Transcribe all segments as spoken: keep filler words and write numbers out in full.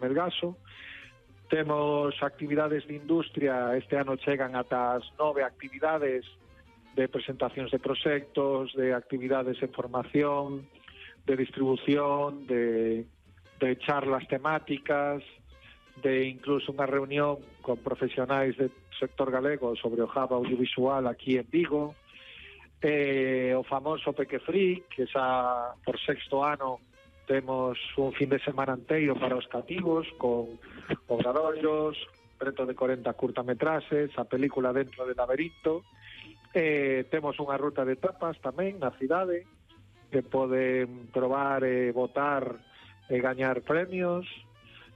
Melgaso. Temos actividades de industria, este ano chegan ata as nove actividades de presentacións de proxectos, de actividades en formación, de distribución, de, de charlas temáticas, de incluso unha reunión con profesionais do sector galego sobre o hub audiovisual aquí en Vigo, eh, o famoso Peque Freak, que xa por sexto ano temos un fin de semana inteiro para os cativos, con obradoiros, preto de corenta curtametraxes, a película Dentro del laberinto. Eh, temos unha ruta de tapas tamén na cidade, que poden probar e votar e gañar premios.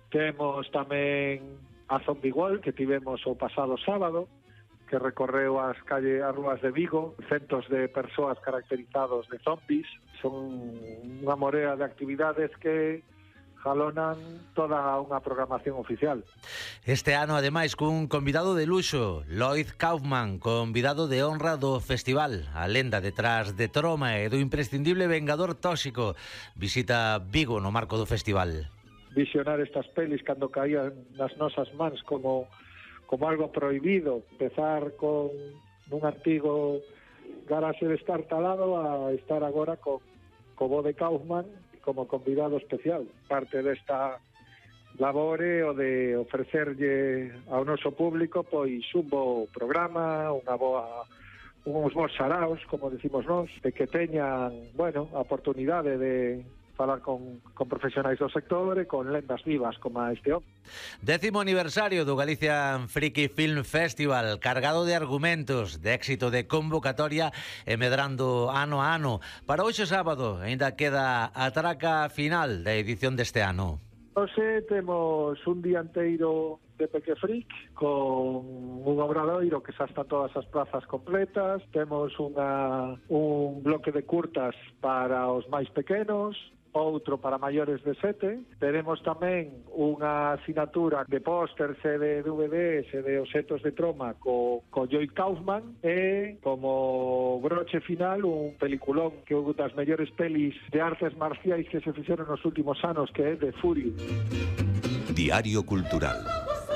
Temos tamén a Zombie World, que tivemos o pasado sábado, que recorreu as calles, as rúas de Vigo, centos de persoas caracterizados de zombies. Son unha morea de actividades que jalonan toda unha programación oficial. Este ano, ademais, cun convidado de luxo, Lloyd Kaufman, convidado de honra do festival. A lenda detrás de Troma e do imprescindible Vengador Tóxico visita Vigo no marco do festival. Visionar estas pelis cando caían nas nosas mans como como algo prohibido, empezar con un artigo garaxe de estar talado a estar agora con co bo de Kaufman como convidado especial. Parte desta labore o de ofrecerlle ao noso público pois un bo programa, unha boa uns bons saraos, como decimos nós, de que teñan, bueno, a oportunidade de falar con, con profesionais do sector e con lendas vivas como a este hombre. Décimo aniversario do Galician Friki Film Festival, cargado de argumentos, de éxito de convocatoria e medrando ano a ano. Para hoxe sábado ainda queda a traca final da edición deste ano. Hoxe temos un día inteiro de Peque Freak con un obradoiro que xa está todas as plazas completas. Temos unha, un bloque de curtas para os máis pequenos, outro para maiores de sete. Teremos tamén unha asignatura de pósters e de D V Ds e de obxetos de Troma co, co Lloyd Kaufman e como broche final un peliculón que é unha das mellores pelis de artes marciais que se fixeron nos últimos anos, que é The Fury. Diario Cultural.